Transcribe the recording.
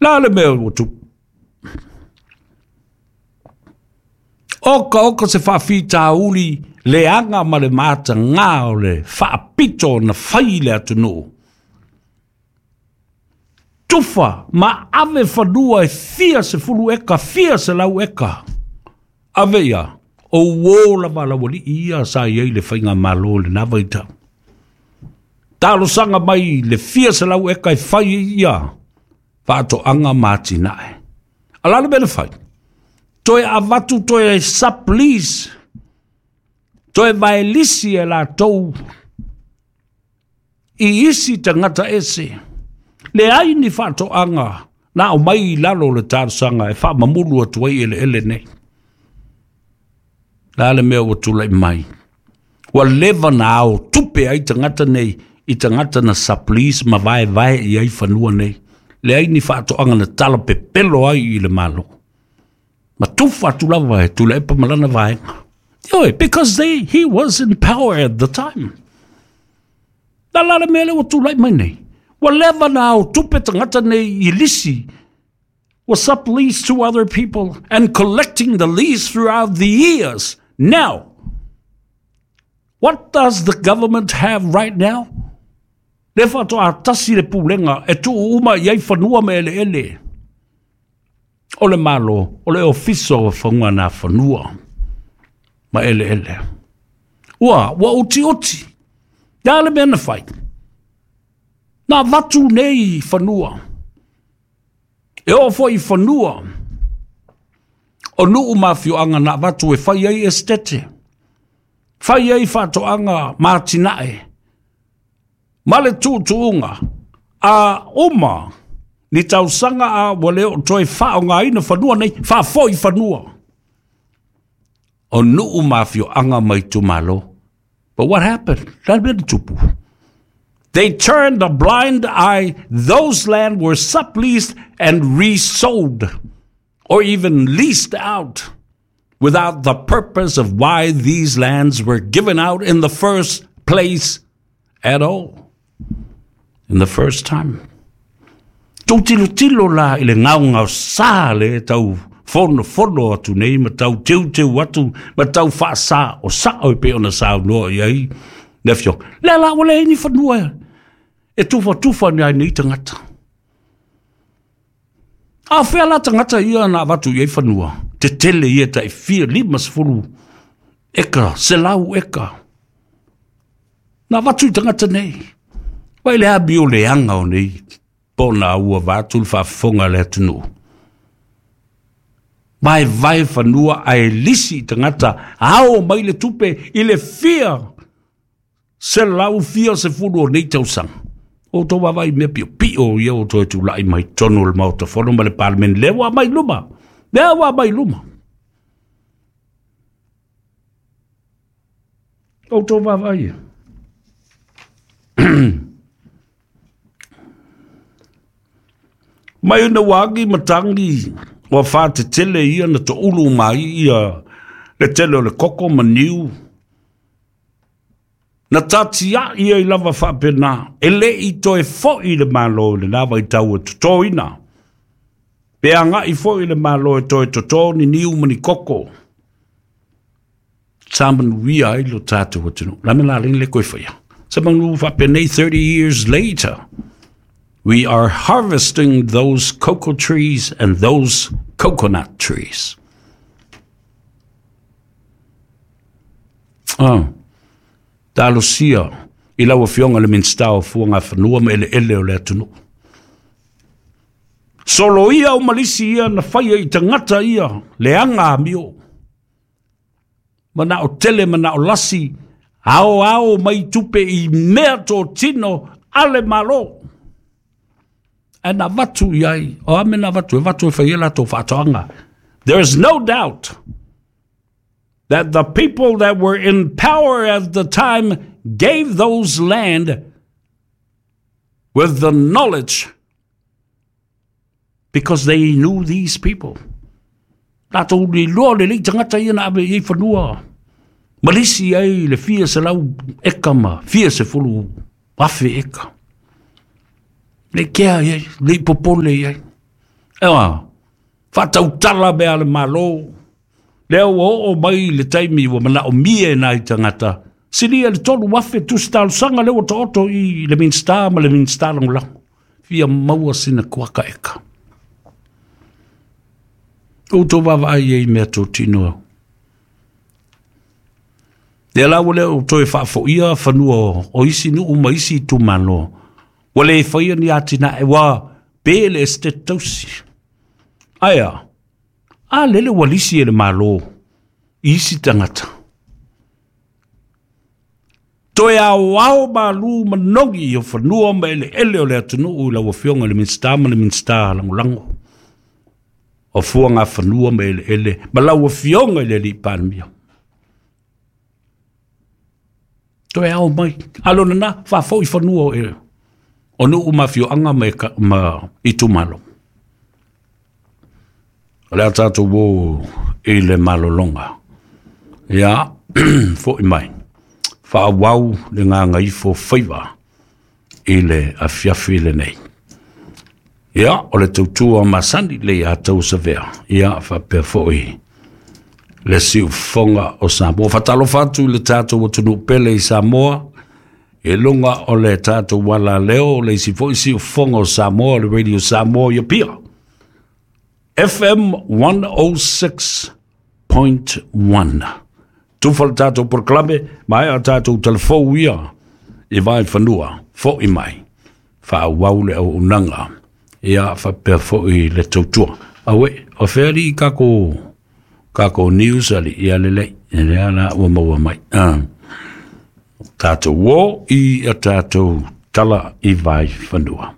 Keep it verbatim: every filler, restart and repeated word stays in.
La le mea ua tupu. Oka oka se faafitauli leaga ma le matagā o le faapito na fai i le atunuu. Tufa ma ave fanua e fia sefulu eka, fia selau eka. Ave ia, o uō lava laualii ia sa i ai le faigamālō i lenā vaitau. Talosaga mai le fia selau eka e fai ia faatoaga ma atinae. A la le mea na fai? Toe avatu toe sublease, toe vaelisi e latou i isi tagata ese. Leai ni faatoaga na aumai i lalo o le talosaga e faamamulu atu ai eleele nei. La le mea ua tulai mai. Ua leva na ao tupe ai tagata nei i tagata na sublease ma vaevae i ai fanua nei. Leai ni faatoaga na tala pepelo ai i le Malo. Ma tufa atu lava e Tuilaepa ma lana vaega. Ioe, because they, he was in power at the time. La la le mea lea ua tulai mai nei. Ua leva na ao tupe tagata nei i lisi was subleased to other people and collecting the lease throughout the years. Now, what does the government have right now? Le faatoa tasi le pulega e tuu uma i ai fanua ma eleele. O le Malo, o le Ofisa o Fauganafanua ma Eleele. Ua, ua utiuti. Ia le mea na fai. Na avatu nei fanua. E oo foi i fanua o nuu ma afioaga na avatu e fai ai esetete. Fai ai faatoaga ma atinae. Ma le tuutuuga a uma ni tausaga a ua le oo toe faaaogaina fanua nei, faafoi fanua o nuu ma afioaga ma itumalo. But what happened? La le mea na tupu. They turned a blind eye. Those land were subleased and resold or even leased out without the purpose of why these lands were given out in the first place at all. In the first time. Tou tilotilo la i le gaogaosā le tau fonofono atu nei ma tau teuteu atu ma tau faasaosao e pei ona saunoa i ai le afioga. Lea la ua leai ni fanua e tufatufa ni ai nei tagata. A o fea la tagata ia na avatu i ai fanua? Tetele ia tai fia lima sefulu eka, selau eka. Na avatu i tagata nei. Vai le amio leaga o nei pona ua vaeatu le faafofoga a le atunuu. Vaevae fanua ae lisi i tagata ao mai le tupe i le fia selau fia sefulu o nei tausaga. O outou vaavaai i mea piopio ia ua toe tulai mai totonu o le Maota Fono ma le Palemene. Lea ua aumai i luma. Lea ua aumai i luma. O outou vaavaai ia. Mai ona ua agi ma tagi ua whātetele ia na toulu mai ia le tele o le koko ma niu. Na tatia'i ai lava faapena, e le i toe fo'i le Malo i lenā vaitau e totoina. Pe aga'i fo'i le Malo e toe toto ni niu ma ni koko. Sa manuia ai lo tatou atunuu. La me la leni le koe whaia. Sa manu faapenei thirty years later, we are harvesting those cocoa trees and those coconut trees. Ah, talosia i lau afioga le Minisita o Fuagafanua ma Eleele o le atunuu. Solo ia o malisi ia na faia i tagata ia leaga amio. Manao tele, manao lasi, ao ao mai tupe i mea totino a le Malo. Ae na avatu i ai, o a mea na avatu, e avatu e fai ai latou faatoaga. There is no doubt that the people that were in power at the time gave those land with the knowledge because they knew these people. Latou le iloa lelei tagata ia na ave i ai fanua. Malisi ai le fia selau eka ma fia sefulu afe eka. Le kea i ai, le i popole i ai. Ewa, faatautala mea le Malo, lea ua oo mai le taimi ua manaomia e nai tagata, silia le tolu afe tusi talosaga lea ua taoto i le Minisita ma le Minisita Lagolago, fia maua sina kuaka eka. Outou vaavaai ai i mea totino. Lea la ua le o toe faafoia fanua o isi nuu ma isi itumalo. Ua le faia ni atinae ua pe le estate tausi. Ae a, a lele ua lisi e le Malo i isi tagata. Toe aoao malu manogi o fanua ma eleele o le atunuu i lau Afioga i le Minisita ma le Minisita Lagolago o Fuagafanua ma Eleele ma lau Afioga i le Alii Palemia. Toe ao mai. A lona na, faafoi fanua o, e, o nuu ma afioaga ma, ma itumalo. O le a tatou o i le malologa. Ia, foi mai. Faaauau le gagaifo faiva i le afiafi lenei. Ia, o le tautua masani le ia tau savea. Ia, faapea foi le siufofoga o Samoa. Faatalofa atu i le tatou atunuu pele i Samoa, i luga o le tatou alaleo, le isi foi siufofoga o Samoa, le Radio Samoa i Apia. F M one oh six point one. Tufa le tatou polokalame, maea tatou telefou ia i vai fanua, foi mai, faaauau le auaunaga, ia faapea foi le tautua. Aue, o fea alii kako, kako news ali, ia lelei, lea la ua maua mai. Ah. Tatou o i a tatou tala i vai fanua.